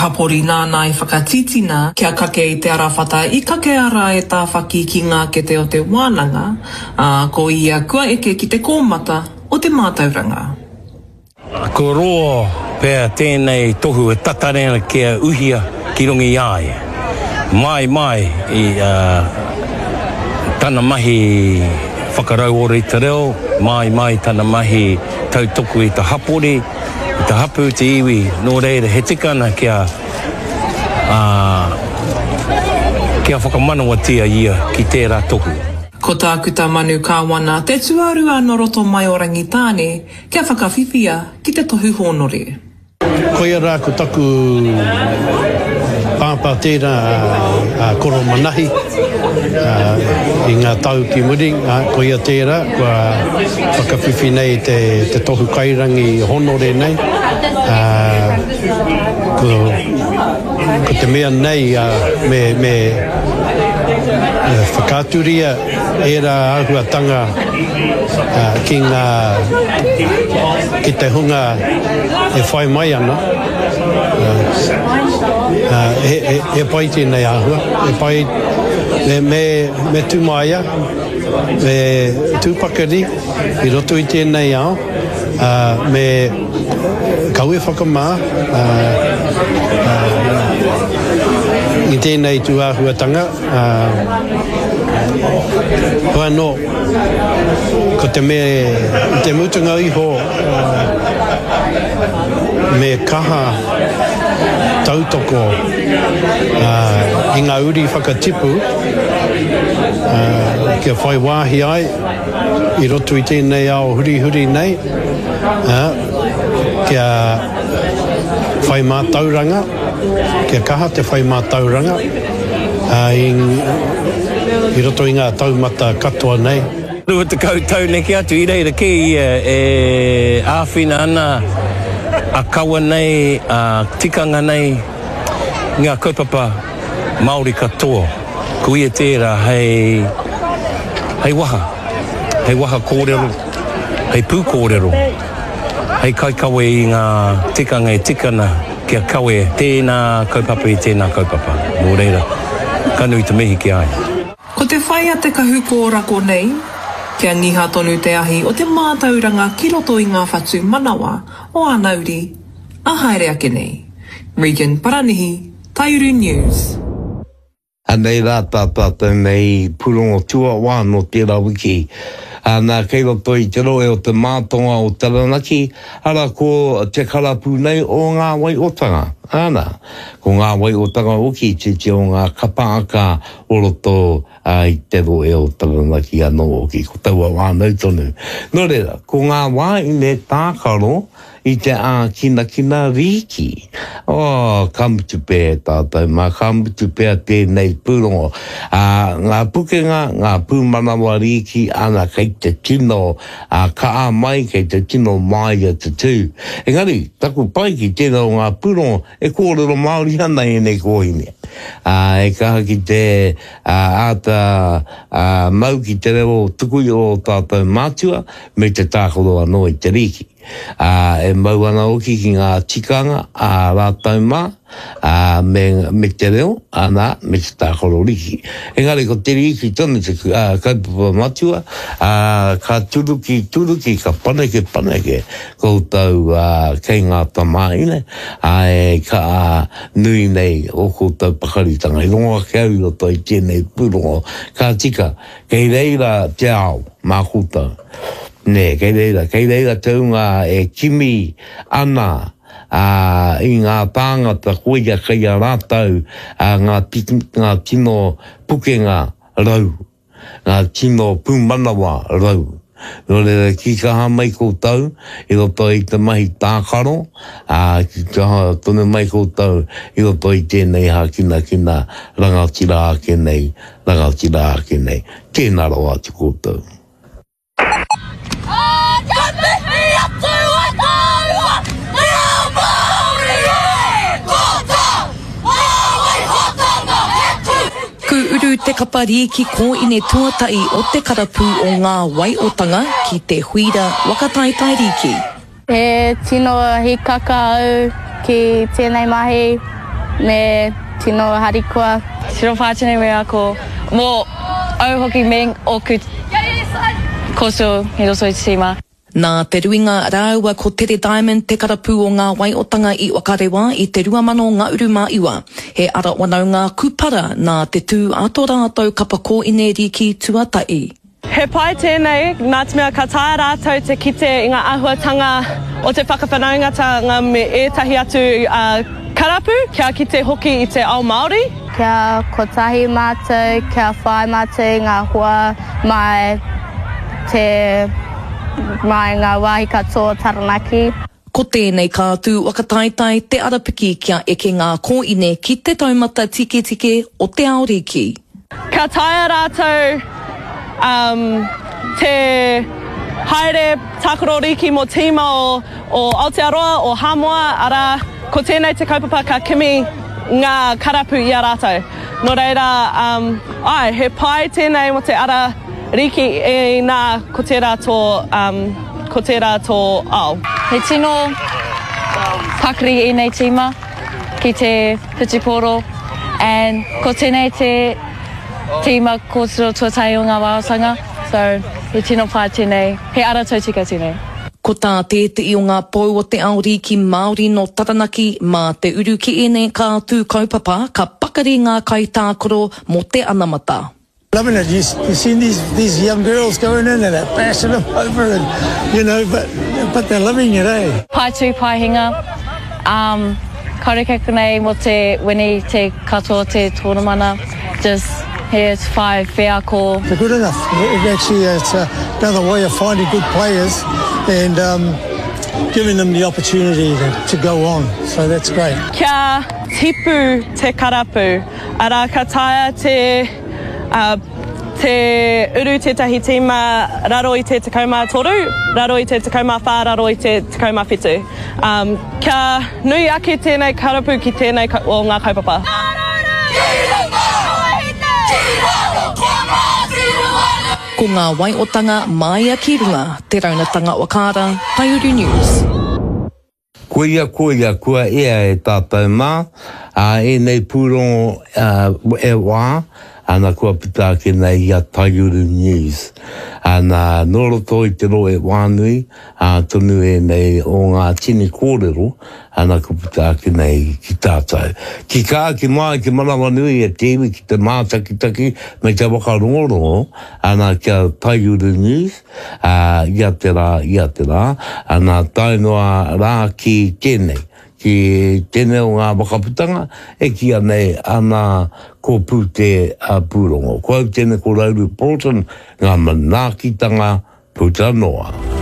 hapori nāna i whakatītina kia kake i te arawhata i kakea rā e Tāwhaki ki ngā kete o te wānanga, ā, ko ia kua eke ki te kōmata o te mātauranga. Kua roa pea tēnei tohu e tatari ana kia uhia ki runga i a ia. Mai mai i tana mahi whakarauora i te reo, mai mai tana mahi tautoko i te hapori, i te hapū, te iwi, nō reira he tika ana kia, kia whakamanawatia ia ki tērā tohu. Ko Tākuta Manu Kāwana te tuarua nō roto mai o Rangitāne kia whakawhiwhia ki te tohu hōnore. Koia rā ko taku pāpā tērā a Koro Manahi i ngā tau ki muri, koia tērā kua whakawhiwhi nei te tohu kairangi honore nei. Ko te mea nei me whakaaturia ērā āhuatanga ki ngā, ki te hunga e whai mai ana, he pai tēnei āhua, he pai, me, me, me tū māia, me tū pakari i roto i tēnei ao, me kaua e whakamā i tēnei tū āhuatanga. Ā, hoi anō, ko te mea i te mutunga iho, me kaha tautoko i ngā uri whakatipu kia whai wāhi ai i roto i tēnei ao hurihuri nei, ā, kia whai mātauranga. Kia kaha te whai mātauranga i roto i ngā taumata katoa nei. 20 tau neke atu i reira kē ia e āwhina ana a kawa nei, a tikanga nei, ngā kaupapa Māori katoa. Ko ia tērā hei, hei waha, hei waha kōrero, hei pūkōrero, hei kaikawe i ngā tikanga e tika ana. Kia kawe tēnā kaupapa i tēnā kaupapa. Nō reira, ka nui te mihi ki a ia. Ko te whai a te kahu kōrako nei, kia ngiha tonu te ahi o te mātauranga ki roto i ngā whatu manawa o āna uri, ā haere ake nei. Regan Paranihi, Taiuru News. Anei rā tā tātou nei pūrongo tuawā nō tērā wiki. Nā, kei roto i te rohe o te mātonga o Taranaki, arā ko te karapu nei o Ngā Waiotanga. Āna, ko Ngā Waiotanga hoki te te o ngā kapa aka o roto i te rohe o Taranaki anō hoki, ko taua whānau tonu. Nō reira, ko ngā wāhine tākaro I te ākinakina rīki. Oh, ka mutu pea e tātou mā, ka mutu pea tēnei pūrongo. Ā, ngā pukenga, ngā pūmanawa rīki, ana, kei te tino kaha mai, kei te tino māia te tū. Engari, taku pai ki tērā o ngā pūrongo, e kōrero Māori ana ēnei kōhine. Ā, e kaha ki te āta mau ki te reo tuku i ō tātou mātua, me te tākaro anō i te rīki. Ā, e mau ana hoki ki ngā tikanga a rātou mā, ā, me, me te reo, ana, me te tākaro riki. Engari ko te riki tonu te kaupapa matua, ā, ka turuki, turuki, ka paneke, paneke koutou, ā, kei ngā tamāhine, ā, e ka, ā, nui nei ō koutou pakaritanga. I rongo ake au i roto i tēnei pūrongo, ka tika, kei reira te ao mā koutou. Nē, kei reira, kei reira te hunga e kimi ana ā, i ngā tāngata koia kei a rātou ā, ngā, ngā tino pukenga rau, ngā tino pūmanawa rau. Nō reira, ki kaha mai koutou i roto i te mahi tākaro, ā, ki kaha tonu mai koutou i roto i tēnei hākinakina rangatira ake nei, rangatira ake nei. Tēnā rawa atu koutou. Ka mihi atu a tāua te ao Māori e! Ko tā Āwaihotanga he tū! Ku uru te kapa rīki kōine tuatahi o te karapū o Ngā Waiotanga ki te Huira Waka Taetae Rīki. He tino hikaka au ki tēnei mahi. Me tino harikoa. Tino whai tēnei wheako mō au hoki me ōku kōtiro i roto i te tīma. Nā Te Ruinga rāua ko Tere Diamond te karapū o Ngā Waiotanga i Whakarewa i te 2019. He ara wanaunga kūpara nā te tū a tō rātou kapa kōine rīki tuatahi. He pai tēnei nā te mea ka taea rātou te kite i ngā āhuatanga o te whakawhanaungatanga me ētahi atu karapu, kia kite hoki i te ao Māori. Kia kotahi mātou, kia whai mātou i ngā hoa mai te mai ngā wāhi katoa o Taranaki. Ko tēnei kātū whakataetae te arapiki kia eke ngā kōine ki te taumata tiketike o te ao rīki. Ka taea rātou te haere tākaro rīki mō tīma o Aotearoa, o Hāmoa, arā, ko tēnei te kaupapa ka kimi ngā karapu i a rātou. Nō reira, āe, he pai tēnei mō te ara rīki inā ko tērā tō. Ko tērā tō ao. He tino pakari ēnei tīma ki te whutupōro and ko tēnei te tīma kōtiro tuatahi o ngā wāotanga so he tino pai tēnei, he ara tautika tēnei. Ko tā tētehi o ngā pou o te ao rīki Māori nō Taranaki, mā te uru ki ēnei kātū kaupapa ka pakari ngā kaitākaro mō te anamata. Loving it, you, you seen these, these young girls going in and they're bashing them over and, you know, but, but they're loving it, eh? Pai tū, pai hinga. Um, kaore kei konei mo te wini te katoa te tōnamana. Just here to whai wheako. They're good enough. It actually, it's another way of finding good players and um, giving them the opportunity to, to go on. So that's great. Kia tipu te karapu. Arā, ka taea te Te uru tētahi tīma raro i te 13, raro i te 14, raro i te 17. Kia nui ake tēnei karapu ki tēnei o ngā kaupapa. Ko ngā waiotanga māia ki runga, Te Raunatanga Whakaara, Taiuru News. Koia, koia, kua ea e tātou mā, ā, ēnei pūrongo e wā, ana kua puta ake nei i a Taiuru News. Ana, nō roto i te rohe whānui, ā, tonu ēnei o ngā tini kōrero, ana kua puta ake nei ki tātou. Ki kā, ki māi, ki manawanui e te iwi, ki te mātakitaki me te whakarongorongo, ana ki a Taiuru News, ā, ia te rā, ia te rā, ana, tae noa rā ki tēnei, ki tēnei o ngā whakaputanga e kīia nei ana ko Pūte Pūrongo. Ko au tēnei ko Rauru Broughton, ngā manaakitanga puta noa.